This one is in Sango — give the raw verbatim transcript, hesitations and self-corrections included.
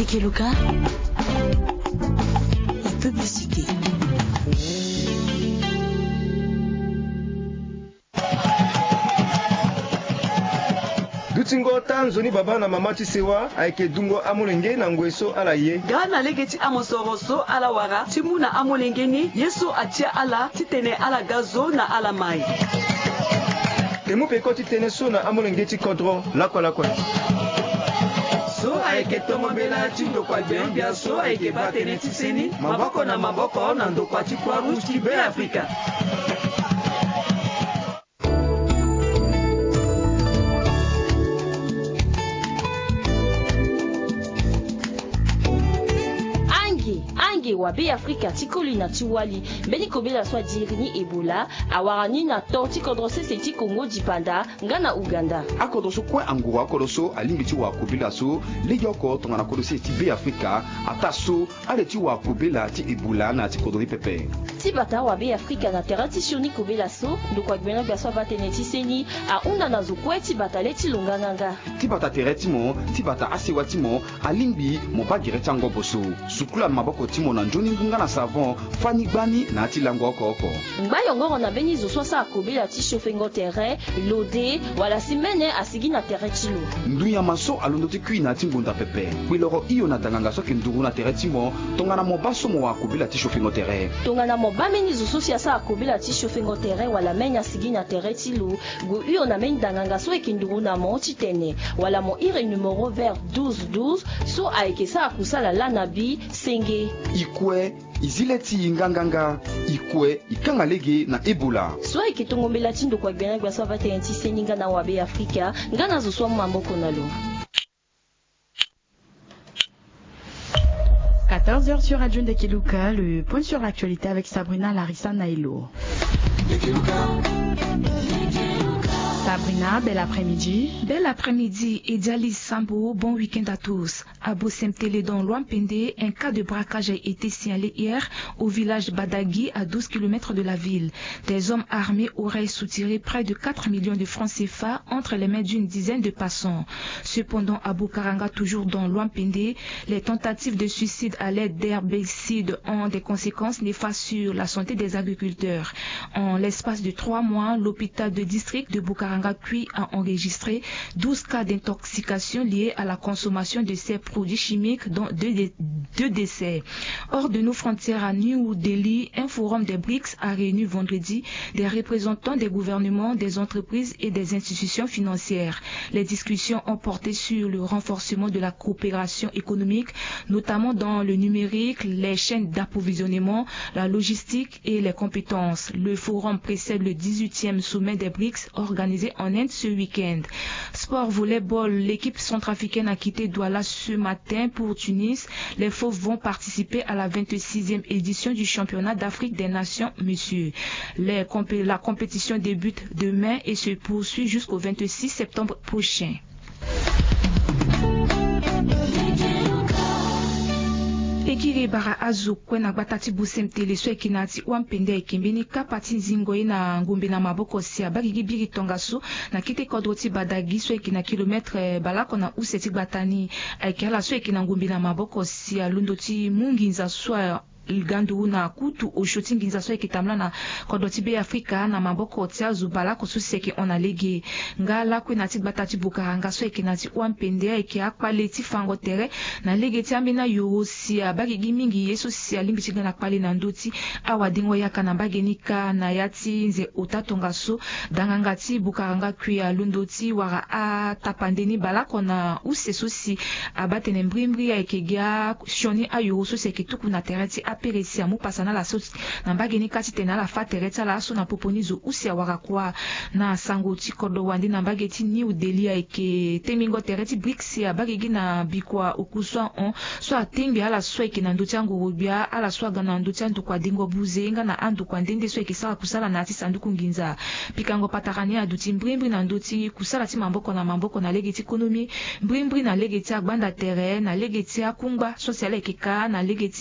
Ekeluka, la publicité. Dutingo ta nzoni baba na mama ti sewa ayeke dungo amolenge na ngoi so ala ye. Nga na lege ti amosoro so ala wara ti mu na amolenge ni, ye so atia ala titene ala ga zo na ala mai. E mu peko ti tënë so na amolenge ti kodro lakue lakue. So ayeke tongo mbela ti ndokua gbia-gbia so ayeke baa tënë ti seni maboko na maboko na ndokua ti Croix Rouge ti Beafrika. Ange, ange wa Beafrika ti koli na ti wali, mbeni kobela so adiri ni Ebola, awara ni na to ti kodro sese ti Congo dipanda nga na Ouganda. Akodro so kue anguru akodro so alingbi ti wara kobela so legeoko tongana kodro sese ti Beafrika, ataa so ale ti wara kobela ti Ebola na ya ti kodro ni pepe. Ti bata wa Beafrika na tere ti sioni kobela so, ndokua gbia-gbia so abaa tënë ti seni ahunda na zo kue ti bata le ti lo nganganga. Ti bata tere ti mo, ti bata asewa ti mo, alingbi mo baa gere ti angobo so. Sukula maboko ti mo na nzoni ngu nga na savon, fani gbani na ya ti lango oko oko. Ngba yongoro na mbeni zo so asara kobela ti siofengo tere, lode, wala si mene asigi na tere ti lo. Ndu nyama so alondo ti kui na ya ti ngonda pepe, kpe loro hio na danganga so ayeke nduru na tere ti mo, tongana mo baa so mo wara kobela ti siofengo tere. Tongana mo baa mbeni zo so si asara kobela ti siofengo tere wala mene asigi na tere ti lo, gue hio na mbeni danganga so ayeke nduru na mo titene, wala mo iri numero vert douze douze so ayeke sara kusala laa na bi senge. I kue, i zi le ti i nganganga, i kue, i kanga lege na Ebola. So ayeke tongo mbela ti ndokua gbia-gbia so abaa tënë ti seni nga na wa Beafrika, nga na zo so amu maboko na lo. Quatorze heures sur Radio Ndekeluka, le point sur l'actualité avec Sabrina Larissa Nailo. Sabrina, bel après-midi. Bel après-midi, Ediali Sambo, bon week-end à tous. À Bosemtele dans l'Ouampende, un cas de braquage a été signalé hier au village Badagui, à douze kilomètres de la ville. Des hommes armés auraient soutiré près de quatre millions de francs C F A entre les mains d'une dizaine de passants. Cependant, à Bukaranga, toujours dans l'Ouampende, les tentatives de suicide à l'aide d'herbicides ont des conséquences néfastes sur la santé des agriculteurs. En l'espace de trois mois, l'hôpital de district de Bukaranga Kui a enregistré douze cas d'intoxication liés à la consommation de ces produits chimiques, dont deux dé-, deux décès. Hors de nos frontières, à New Delhi, un forum des brics a réuni vendredi des représentants des gouvernements, des entreprises et des institutions financières. Les discussions ont porté sur le renforcement de la coopération économique, notamment dans le numérique, les chaînes d'approvisionnement, la logistique et les compétences. Le forum précède le dix-huitième sommet des brics organisé en Inde ce week-end. Sport volleyball, l'équipe centrafricaine a quitté Douala ce matin pour Tunis. Les Fauves vont participer à la vingt-sixième édition du championnat d'Afrique des Nations, messieurs. Les compé-, la compétition débute demain et se poursuit jusqu'au vingt-six septembre prochain. Pekiri bara azo kue na gbata ti Bosemtele so ayeke na ya ti Ouampende ayeke mbeni kapa ti zingo ye na ngombe na maboko si abaa gigi biri tongaso na kete kodro ti Badagui so ayeke na kilometre, eh, baleoko na use ti gbata ni. Ayeke ala so ayeke na ngombe na maboko si alondo ti mu nginza so a ga nduru na kutu osio ti nginza so ayeke tambula na kodro ti Beafrika na maboko ti azo baleoko so si ayeke hon na lege. Nga lakue na ya ti gbata ti Bukaranga so ayeke na ya ti Ouampende ayeke akpale ti fango tere na lege ti ambeni ayoro si abaa gigi mingi ye so si alingbi ti ga na kpale na ndö ti awadengo yaka na mbage ni kâ. Na ya ti nze ota tongaso, danganga ti Bukaranga Kui alondo ti wara atapande ni baleoko na use so si abaa tene mbrimbri ayeke gi asioni ayoro so si ayeke tuku na tere ti apere si amu pasa na ala so na mbage ni kâ titene ala fâ tere ti ala laso na popo ni zo use awara kua. Na sango ti kodro wande na mbage ti New Delhi ayeke tengbingo tere ti brics si abaa gigi na bikua oku so ahon so atengbi ala so ayeke na ndö ti angoro-gbia, ala so aga na ndö ti andokua dengo buze nga na andokua nde nde so ayeke sara kusala na ya ti sanduku nginza. Pikango patara ni aduti mbrimbri na ndö ti kusala ti maboko na maboko na lege ti konomi, mbrimbri na lege ti agbanda tere, na lege ti akungba so si ala yeke kâ na lege ti